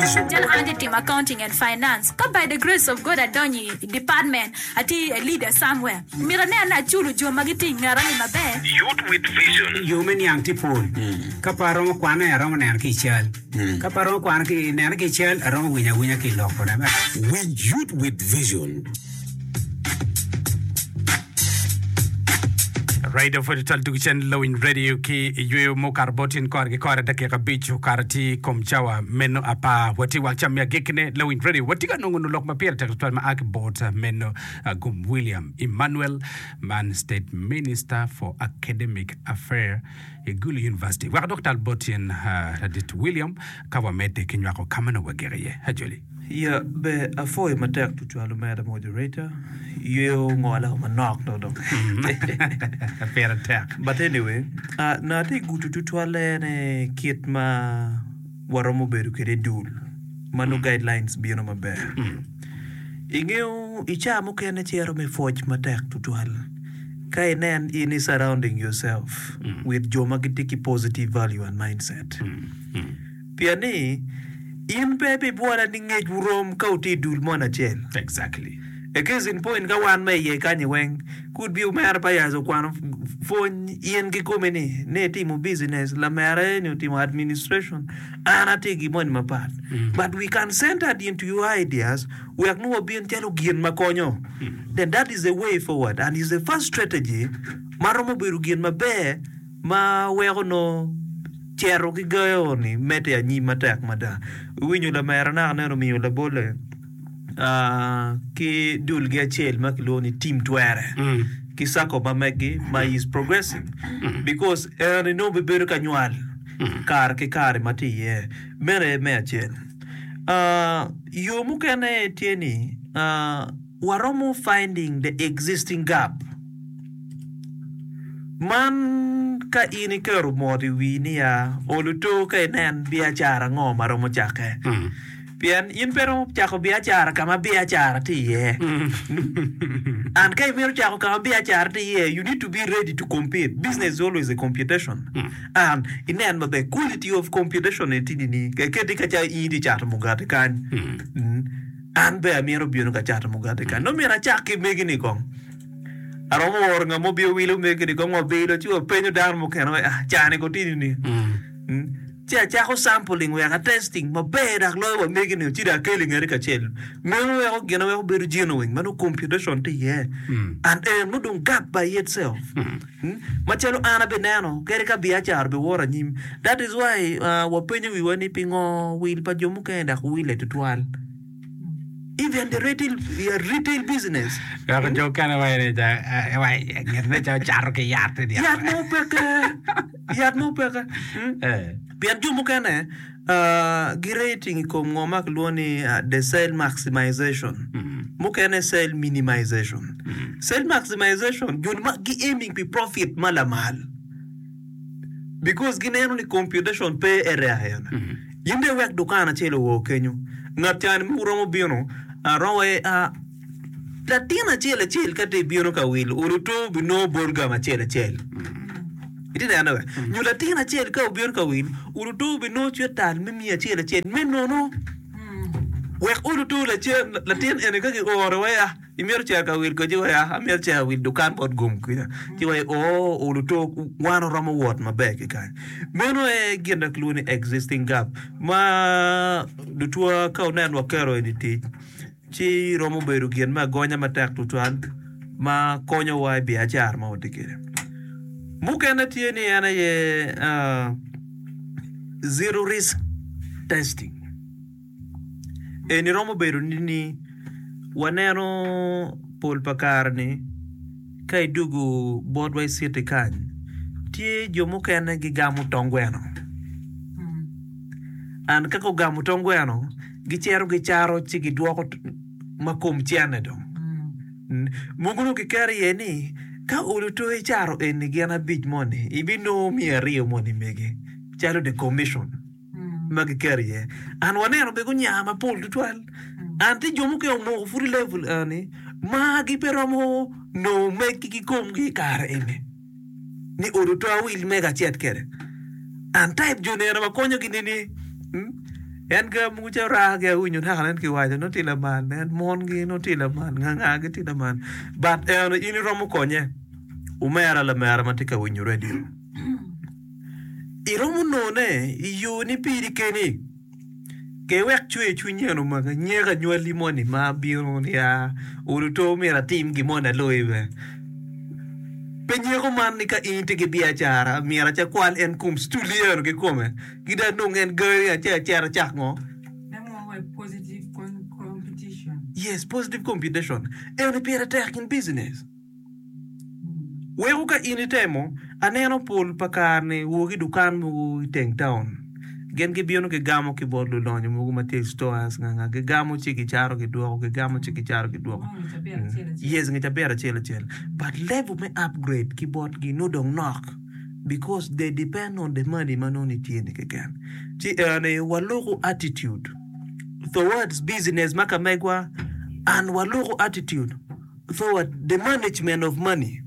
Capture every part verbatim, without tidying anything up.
Vision. Jal an atye timo accounting and finance. Ka by the grace of God adonyo i department, atye a leader somewhere. Myero anen ni aculo jo ma gitye i ngeta ni maber. Youth with Vision. Yo me niang tye pol. Ka pe aromo kwane, aromo neno ki i cal. Ka pe aromo kwano ki neno ki i cal, aromo winyo awinya ki i lok kode. Winj Youth with Vision. Radio pwod tutwal tugo cen Lowiny Radio ki i yweyo mukato bot tin kore ki kore dakika abic okato tye kom cawa meno apar watye wang cam me agikkine Lowiny Radio watye ka nongo lok ma pire tek tutwal ma a ki bot meno Gum William Emmanuel man State Minister for Academic Affair i Gulu University wek adwok tal bot tyen ladit William ka wamedde ki nywako ka ma nongo wagiko iye. Ajoli. Ya ber apwoyo matek tutwal omera moderator yweyo ngola manok dong dong Pire tek. But anyway uh, na atye gudo tutwalle ne kit ma waromo bedo kwede i dul ma nongo guidelines bino maber. Ingeyo i caa mukene cito me pwoc matek tutwal ka inen in i surrounding yourself with jo ma gitye ki positive value and mindset. Pien ni, in pe ibibwola ni ngecwu rom ka wutye i dul moni acel. Exactly. A case in point, ka wan ma iye kanyi weng, could be omera pa yac okwano pwony in kikomi ni, ni itimo business, lamera eni otimo administration, an atye gin moni mapat. But we can center into your ideas wek nongo wabin calo gin ma konyo. Then that is the way forward and is the first strategy ma romo bedo gin maber ma weko nongo cito ki gayo-ni medde anyim matek mada. Iwinyo lamera naka nen omiyo labolle ki dulgi acel ma kilwongo ni Team Twere ki circle ma meggi ma is progressing because en nongo bibedo ka nywal kare ki kare ma tye iye. Meno aye me acel. Yo mukene tye ni waromo finding the existing gap. Man ka in iketo mot i wii ni ya olo to ka inen biacara ango ma romo cakke. Pien in pe iromo cako biacara ka ma biacara tye iye. And ka imito cako ka ma biacara tye iye, you need to be ready to compete. Business is always a competition. And inen maber quality of competition eni tye nining? Ka iketi ka calo in itye cato mugati kany, an bene amito bino ka cato mugati kany. Nongo myero acak ki megi-ni kong. Aromo oro ngat mo obino wilo omegini kong wabilo ci wapenyo dano mukene wai ah cani ko tye nini ci acako sampling wek a testing maber dok loyo wa megini ci dong akelo ingete kacel meno weko gine weko bedo genuine ma nongo computation tye iye and en nongo dong gap by itself macalo an abineno kadi ka biacara biwoto anyim that is why wapenyo wiwa ni pingo wil pa jo mukene dok wile tutwal. Even the retail, retail business. Weko jo okene waco ni ca nget ne ca ocato ki yat i dyere. Yat mo peke, yat mo peke. Eh. Pien jo mukene uh, gi rating i kom ngo ma kilwongo ni uh, the sale maximization. Mukene sale minimization. Sale maximization jo ma gi aiming pi profit ma lamal. Because gineno ni computation pe area ene. In dong iwek dukan acel owor kenyo. Ngat cani ma wuromo bino, aromo aye a latin acel acel ka tye bino ka wil, oluto binongo bol gam acel acel. Itye neno be? Nyo latin acel ka obino ka wil, oluto binongo cwetal me miya acel acel me nono. Wek oluto lacen latin eni ka giore wai a Imito cito ka wil ci wai amito cito ka wil dukan bot gum kwica ci wai oo oluto wan oromo wot maber ki kany. Meno aye gin ma kilwongo ni existing gap ma lutwa ka wunen waketo eni tic ci romo bedo gin me agonya matek tutwal ma konyowa i biacara ma watye kwede. Mukene tye ni en aye zero risk testing. Eni romo bedo ni waneno pol pa kare-ni ka idwogo botwa i citi kany, tye jo mukene gigamo tong gweno. And ka gugamo tong gweno, gicito gicaro ci gidwoko ma kom cene dong. Mogo dong kiketo iye ni ka olo to icaro eni gin abic moni, ibinongo miya aryo moni megi calo the commission. ma giketo iye. An waneno bene gunya mapol tutwal. An tye jo mukene omoko pud i level eni ma gipe romo nongo meggi ki komgi i kare eni ni odo to awil mega acet kwede. An type jo ni ene wakonyogi nini? En ga mogo ca raa-gi awinyo naka nen kiwaco nongo tye lamal, en mongi nongo tye lamal, nga nga-gi tye lamal. But eno in iromo konye, omera lamera ma tye ka winyo radio. Iromo nongone i yo ni piri keni. Ke wek cwer cwiny en omaki, nyeko anywali moni ma bino ni aa olo to myero atim gin moni aloyi bene. Pe nyeko man ni ka in itye ki biacara myero aca kwal en kom stuli eno kikome ki dong anong en gari aca acit acak ngo? Yes, positive competition eni pire tek in business. Weko ka in itemo, aneno pol pa kare-ni wok i dukan mogo i teng taun, gin gibino gigamo ki bot lulonyo mogo ma tye i stores nga nga, gigamo ci gicato gidwoko, gigamo ci gicato gidwoko. Yes, nge cabit acel acel. But level me upgrade ki botgi nongo dong nok because they depend on the money ma nongo nitye-ni keken. Ci eni waloko attitude towards business ma ka megwa and waloko attitude Forward, the management of money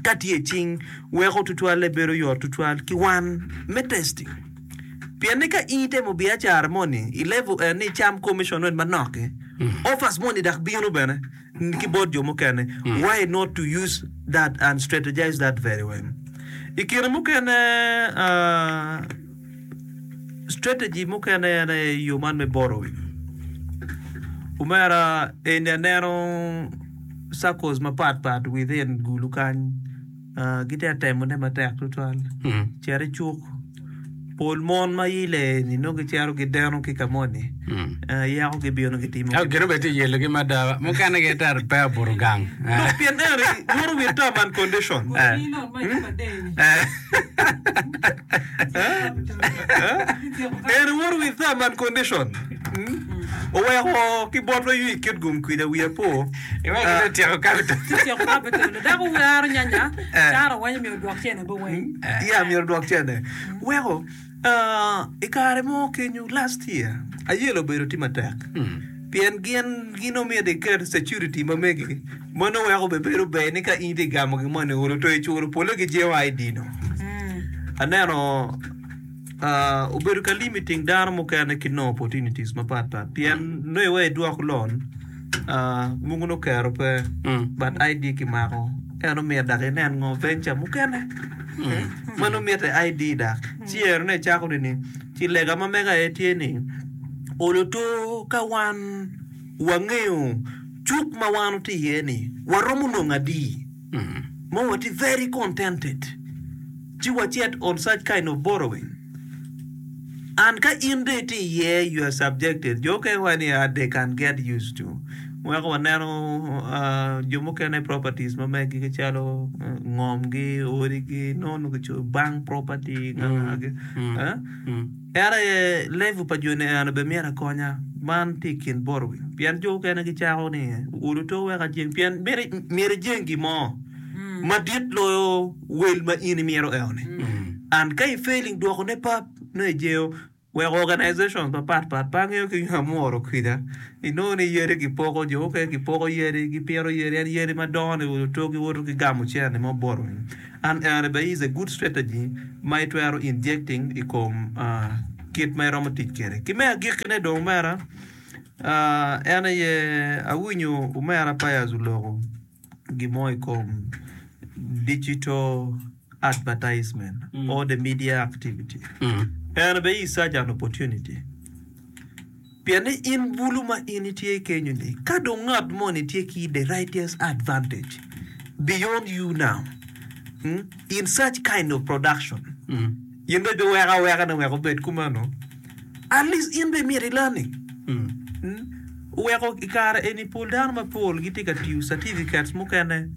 ka tye i cing weko tutwalle bedo yot tutwal ki wan me testing. Pien ni ka in itemo biacara moni i level en ni icam commission rate manok-ki, offers moni dok bino bene ki bot jo mukene. Why not to use that and strategize that very well. I kine mukene uh, Strategy mukene en aye yo man me borrowing. Omera eni aneno circles mapat pat within Gulu kany gitye ka temone matek tutwal. Cit i cuk pol mon ma ile ni nongo gicito gideno ki ka moni yako gibino gitimo. Gin obedo tye yelogi mada mukene gitero pe obuto gang. Dok pien eni woto with term and condition. En woto with term and condition. Oweko ki botwa ywi kit gum kwija wiya po. Iweko gin otyeko capital. Otyeko capital. Dako waro nyanya, caro weny myero odwok cene bo weng. Yeah, myero odwok cene. Weko i kare mo kenyo last year ayelo obedo tye matek pien gin gin omyero iket security ma megi ma nongo weko bene bedo ber ni ka in itye ka gamo gin moni olo to iculo pole gijengo I D no. Aneno obedo ka limiting dano mukene ki nongo opportunities mapat pat pien nongo iweko idwok loan mogo nongo kero pe but I D kimako ento myero dok inen ngo venture mukene ma nongo mitte I D dok ci eno icako nini ci lega ma mega aye tye ni olo to ka wan wangeyo cuk ma wan watye iye ni waromo nongo adi ma watye very contented ci wacit on such kind of borrowing and ka in dong itye iye you are subjected jo mukene waco ni they can get used to weko waneno jo mukene properties ma meggi calo ngomgi odigi nongo kicoyo bank property en aye level pa joni eno bene myero akonya man tye i kin borrowing pien jo mukene gicako ni olo to wek ajeng pien myero ijeng gin mo madit loyo wel ma in imito eno-ni and ka i failing dwokone pap nongo ijengo wek organizations mapat pat pe angeyo ki nyo amuro kwija inongo ni yadi kipoko jo mukene gipoko yadi gipito yadi en yadi madongo ni olo to giwoto ki gamo cene mo borrowing and eno bene is a good strategy ma itwero injecting i kom kit ma iromo tic kwede ki me agikkine dong omera en aye awinyo omera Pius oloko gin mo i kom digital advertisement or the media activity eno bene is such an opportunity pien ni in bulu ma in itye kenyo ni ka dong ngat moni tye ki the righteous advantage beyond you now in such kind of production in dong ibiweko aweka ni wek obed kumeno at least in bene myero i learning oweko i kare eni pol dano mapol gitye ka tiyo certificates mukene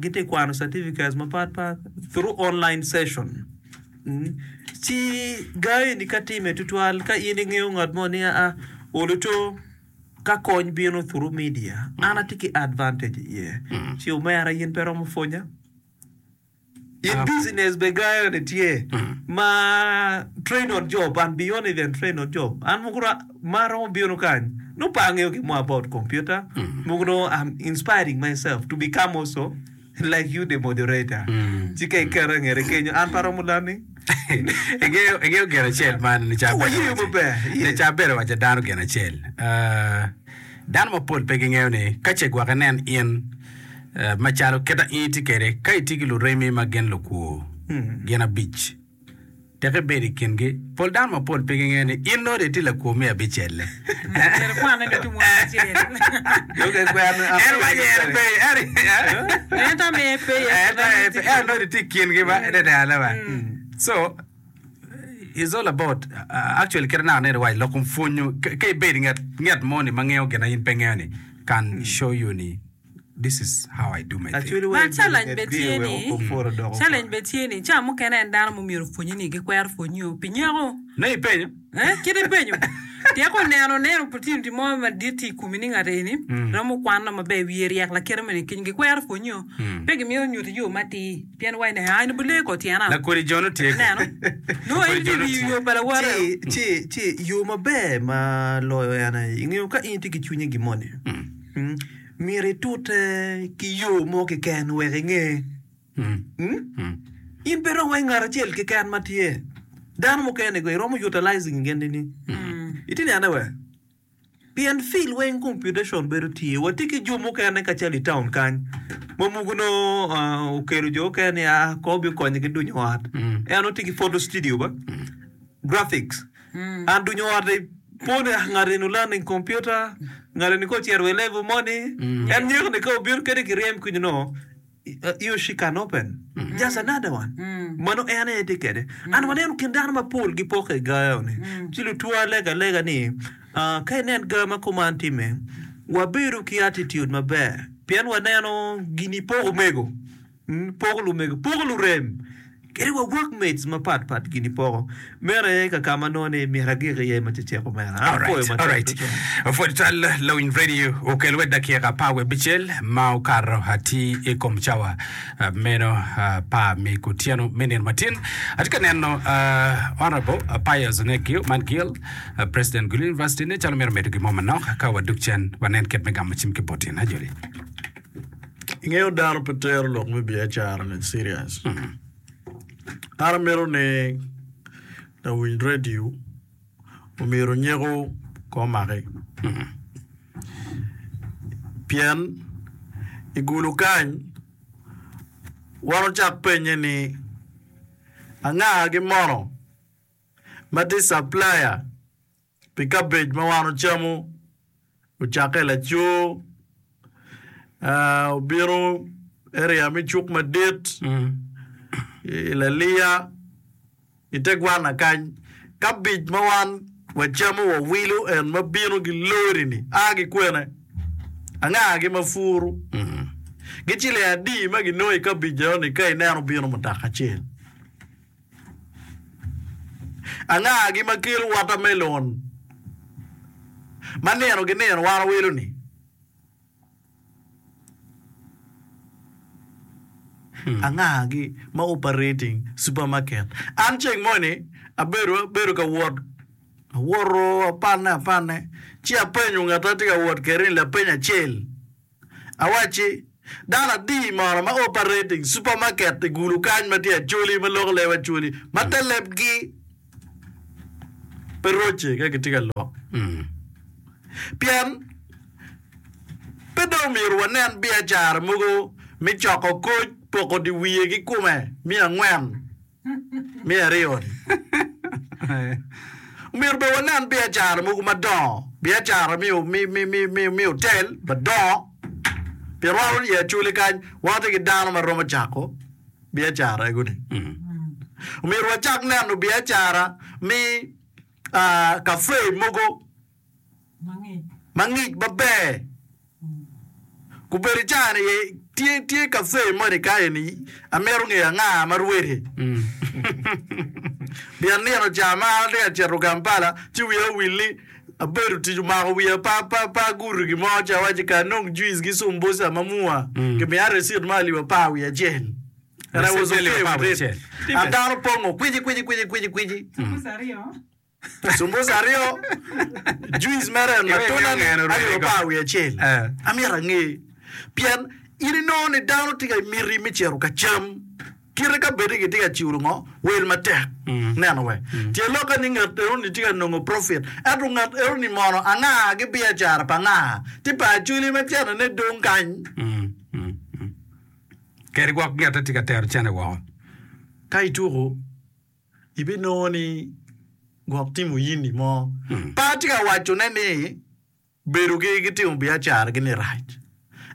gitye ka kwano certificates mapatpat through online session ci ga eni ka time tutwal ka in ingeyo ngat mo ni aa olo to ka kony bino through media an atye ki advantage iye ci omera in pe iromo pwonya in business bene ga eni tye ma train on job and beyond even train on job an mogo ma aromo bino kany nongo pe angeyo gin mo about computer mogo nongo I'm inspiring myself to become also like you the moderator ci ka iketo i ngete kenyo an pe aromo learning. Ingeyo ingeyo gin acel man ni ca Wa yeyo maber, yes. ni ca bedo waco dano gin acel. Uh, dano mapol pe gingeyo ni ka ce gwok inen in uh, macalo kita in itye kwede ka itye ki luremi ma gin lukwo gin abic teke ibedo i kingi pol dano mapol pe gingeyo ni in nongo dong itye lakwo me abicelle. Myero kwane ducu mwaka acel. Dong kwano En waco en pe en Ento me pe en en nongo itye i kingi ba ene ba. So it's all about uh, actually kit na aneno waco lok kom pwonyo ka ka ibedo i nget nget mo ni ma ngeyo gin ma in pe ngeyo ni can show you ni this is how I do my thing. Actually, Ma challenge be tye ni challenge be tye ni ca mukene en dano mumyero pwonyi ni gikwero pwonyi pi nyeko. Ne ipenyo? Eh, kit ipenyo. Tyeko neno neno opportunity mo madit tye i komi ni ngat eni romo kwano maber wiye ryek lakite moni kiny gikwero pwonyi o. Pe gimito nyuti yo matir pien waci ni ah in obilee ko tyena. Lakodi jo no tye ko. Neno. Nongo in itye riyo yo pa lawote. Ci, ci, ci, yo maber ma loyo en aye, ingeyo ka in itye ki cwinyi gin moni, mm, myero itute ki yo mo keken wek inge. Mm? In pe dong wai ngat acel keken ma tye. Dano mukene go iromo utilizing gin nini. Itye nene we? Pien fil weng computation bedo tye. Watye ki jo mukene kacel i town kany. Ma mugo no uh, okelo jo okene ni ah, ko obi konyo ki dunyo ot. En otye ki photo studio ba? Graphics. An dunyo ot pone ah, ngat eni learning computer, ngat eni ko ocito i level moni. En nyeko ni ka obino kede kiryem kunyo no, he or she can open. Just another one. Mano en aye tye kede. An waneno kin dano mapol gipoke i gayo ni. Ci lutwo alega alega ni, uh, ka inen ga ma kuman time, wabedo ki attitude maber. Pien waneno gini poko omego. Mm, poko lumego, poko lurem. Kede wa workmates mapat pat gini poko. Meno aye ka kama nongo ni myero agik iye ma ceceko mera. An apoyo Alright, matek alright. tutwal. Pwod twal Lawiny Radio okel wed dakika apar wiye abicel ma okato ati i kom cawa uh, meno uh, pa mi kutyeno me nino matin. Atye ka neno uh, Honorable uh, Pius Onekio man Gil, uh, President Gulu University ne calo myero medo gin mo manok ka waduk cen wanen kit me gamo cim ki botin. Ajoli. Ingeyo dano pe tero lok me biacara ni serious. An amito ni lawiny radio omyero nyeko ko omaki. Pien i gulu kany wan ocak penye ni anga gi mono ma tye supplier pi cabbage ma wan ocamo ocakke laco uh, obino area me cuk madit i Laliya i te gwana kany cabbage ma wan wacamo wawilo en ma bino gi lori ni a gi kwene anga gi ma furu gi ciling adi ma ginongo i cabbage eno ni ka ineno bino mutoka acel anga gi ma kelo watermelon ma nino gi nino wan wawilo ni anga gi ma operating supermarket an ceng moni abedo abedo ka wot awoto apanne apanne ci apenyo ngat atye ka wot kwede ni lapeny acel awacci dano adi mono ma operating supermarket i gulu kany ma tye acholi ma loko leb acholi ma te lebgi pe roce ka gitye ka lok pien pe dong myero wanen biacara mogo me coko koc poko di wiye ki kume miya angwen miya aryo ni myero be wanen biacara mogo madongo biacara mi, mi, mi, mi, mi, mi hotel madongo pien wan i acholi kany wan watye ki dano ma romo cako biacara ego-ni myero wacak neno biacara mi uh, cafe mogo ma ngic maber kubedo i caa ni tye tye cafe moni ka eni amito ngeyo anga ma rwede pien nino ca ma an atye ka cito Kampala ci wiya owil ni abedo tic omako wiya pa pa pa agudo gin mo ci awaci ka anong juice ki sumbusa mamua kimiya receipt ma alip apar wiye acel and I was okay with it and dano pongo kwici kwici kwici kwici kwici sumbusa aryo juice mere en matunda ni alip apar wiye acel amito ange pien in inongo ni dano tye ka miti me cito ka cam Kite ka bedi gitye ka culo ngo? Wel matek. Neno we. Tye lokke ni ngat eno-ni tye ka nongo profit. Ento ngat eno-ni mono anga ki biacara pa nga? Tye pa Acholi ma cene-ne dong kany. Kadi gwok ngette tye ka tero cene woko. Ka ituko, ibinongo ni gwok timo yini mo. Pe atye ka wacone ni Bedogi ki timo biacaragi-ni rac.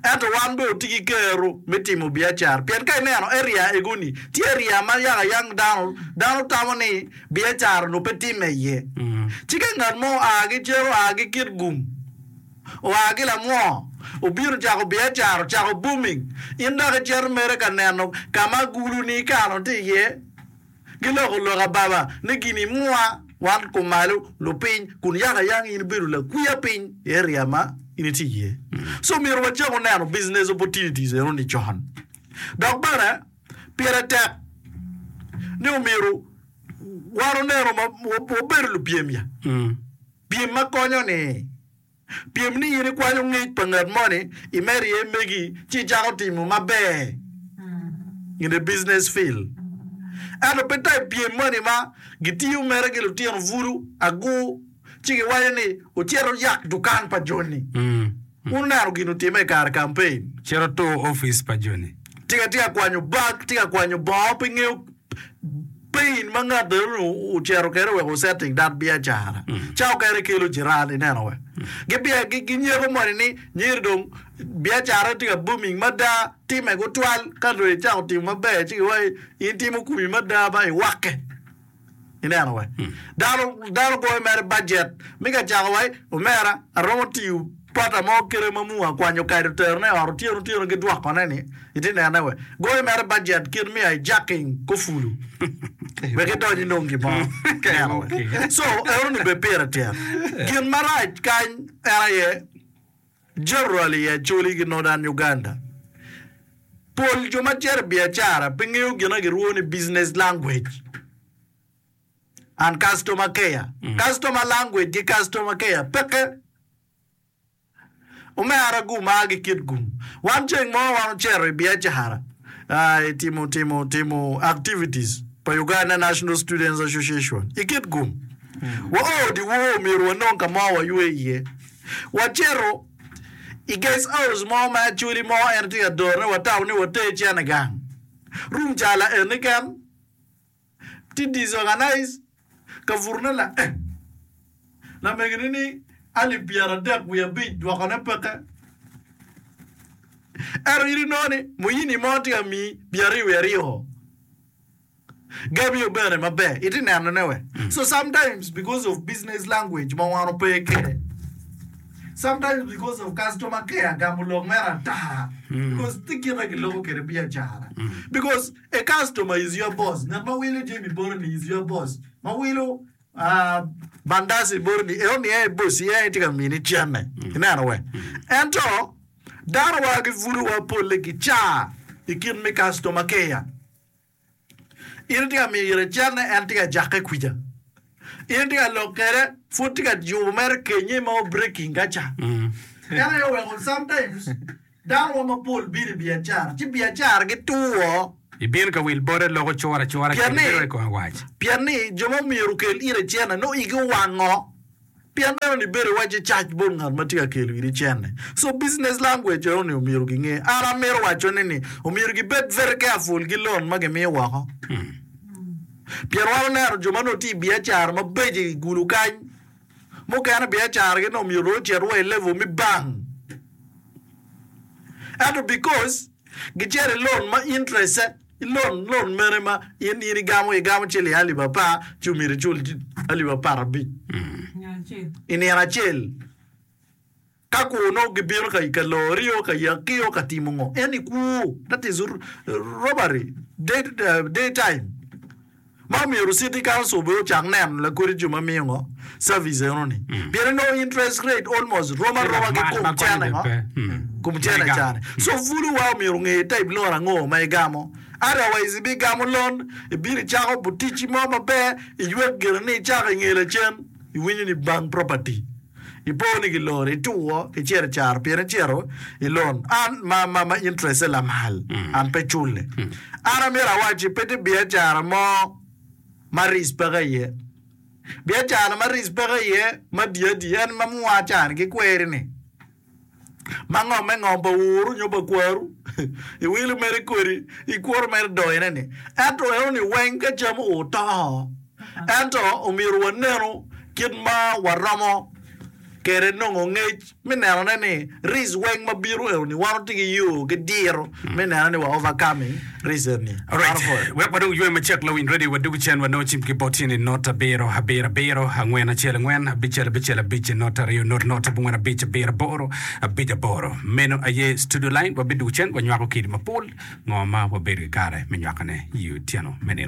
Ento wan bene watye ki kero me timo biacara pien ka ineno area ego-ni, tye area ma yaka yang dano dano tamo ni biacara onongo pe timme iye. Ci ka ngat mo oa ki cen oa ki Kitgum, oa ki Lamwor, obino ocako biacara, ocako booming, in dok icito mere ka neno ka ma agulu-ni ikano tye iye. Giloko lok ababa ni gin imwa wan kumalo lupiny kun yaka yang in ibedo lakwiya piny i area ma in itye iye. So myero wacaku neno business opportunities eno ni con. Dok bene pire tek ni omyero wan oneno ma wabedo lupyem ya. Pyem ma konyo ni Pyem ni in ikwanyo ngec pa ngat moni imedo iye megi ci icako timo maber in the business field. Ento pe type pyem moni ma gitiyo mere ki lutino bulu agur ci giwaco ni wucit wuyak dukan pa joni. Wun wuneno gin otimme i kare campaign. Cit otur opic pa joni. Tika tye ka kwanyo bag, tye ka kwanyo bongo pe ngeyo Pain ma ngat eno ocito kwede wek osetting that biacara ca okene kelo jiran ineno we gibia ginyeko moni ni nyeri dong biacara tye ka booming mada time gutwal ka dong icako timo maber ci giwaci in timo komi mada ba iwakke ineno we dano dano goyo mere budget mi ka cako wai omera aromo tiyo pata mo kite ma mua kwanyo kado terone i ot otyeno otyeno ki dwokone ni Itye nene we. Goyo mere budget kit me hijacking kofulu wek idony inong gin mo. Neno we. So eno ni bed pire tek. Gin marac kany en aye generally i Acholi ki Northern Uganda pol jo ma cito i biacara pe ngeyo gin ma girwo ni business language and customer care. Customer language ki customer care peke. Omera gumar ki kit gum. Wan ceng mo wan ocito i biacara i timo timo timo activities pa Uganda National Students Association i kit gum. Wa o dyewor myero wanong ka mo waywe iye. Wacito i guest house mo ma Acholi mo en tye ka dorone watamo ni water cene gang. Room cala eni ken tye disorganize ka butone la eh lamegine ni alip pyeradek wiye abic dwokone peke ento in inongo ni muyini mo tye ka miyi pyeraryo wiye aryo gamiyo bene maber itye nenone we so sometimes because of business language ma wan ope kwede sometimes because of customer care gamo lok mere ata because tye kite giloko kwede biacara because A customer is your boss, ngat ma wilo jami boti ni is your boss, ma wilo bandaci boti ni eno ni en aye boss en aye tye ka mini cente, ineno we? Ento dano wa ki pwod wa polle gica i kit me customer care. In itye ka miyo ire cente en tye ka jakke kwica. In itye ka lok kwede pwod tye ka yubo mere kenye ma o breaking ka ca. En aye oweko sometimes Dano wa mapol bino i biacara, ci biacara gitur. Ibino ka wil bote loko cura acura Pien kadi ni, bedo wai kome wac. pien ni jo ma myero okel ire cene nongo igi owango. Pien meno ni bedo iwacci cac bot ngat ma tye ka kelo iri cene. So business language eno ni omyero ginge. An amito waco ne ni omyero gibed very careful ki loan ma gimiyo woko. Pien wan oneno jo ma nongo tye i biacara mabeco i gulu kany, Mukene biacaragi nongo myero ocit wa i level me bank ento because gicito i loan ma interest i loan loan mene ma in in igamo igamo ciling alip apar ci myero icul alip apar abic i nino acel. Ka kwo nongo gibino ka ka lorio, ka yakio, ka timo ngo, en i kwo, that is robbery, day, day time. Ma omyero city council bene ocak neno lakodi jo ma miyo ngo service eno ni. Pien inongo interest rate almost rom aroma ki kom cene ngo, kom cene cane. So bulu wa omyero onge type loan ango ma igamo. Otherwise ibigamo loan, ibino icako buticci mo maber, iywek gire ni icako inge lacen, iwinyo ni bank property. Ipo ni giloro, ituwo, icito i caro pien icito i loan. An ma, ma, ma interest-e lamal, an pe culle. An amyero awacci pe tye biacara mo ma risk peke iye. Biacara ma risk peke iye ma diadi en ma mwa cani ki kweri-ni. Ma ngo me ngom pa wuru nyo pa kwaru iwilo mere kwedi ikwoto mere doyone ni ento eno ni weng ka cam oo to ento omyero wanenu kit ma waromo kede nongo ngec me nenone ni risk weng ma bino eno ni wan watye ki yo ki diro me neno ni wa overcoming risk eni. Alright, wek wadong ywe macek lawiny radio wadugu cen wanongo cim ki bot ni not abiro abiro abiro angwen acel angwen abicel abicel abic not aryo not not abongwen abic abiro aboro abic aboro meno aye studio line wabidugu cen wanywako kidi mapol ngo ma wabedo ki kare me nywakone i otyeno me nino.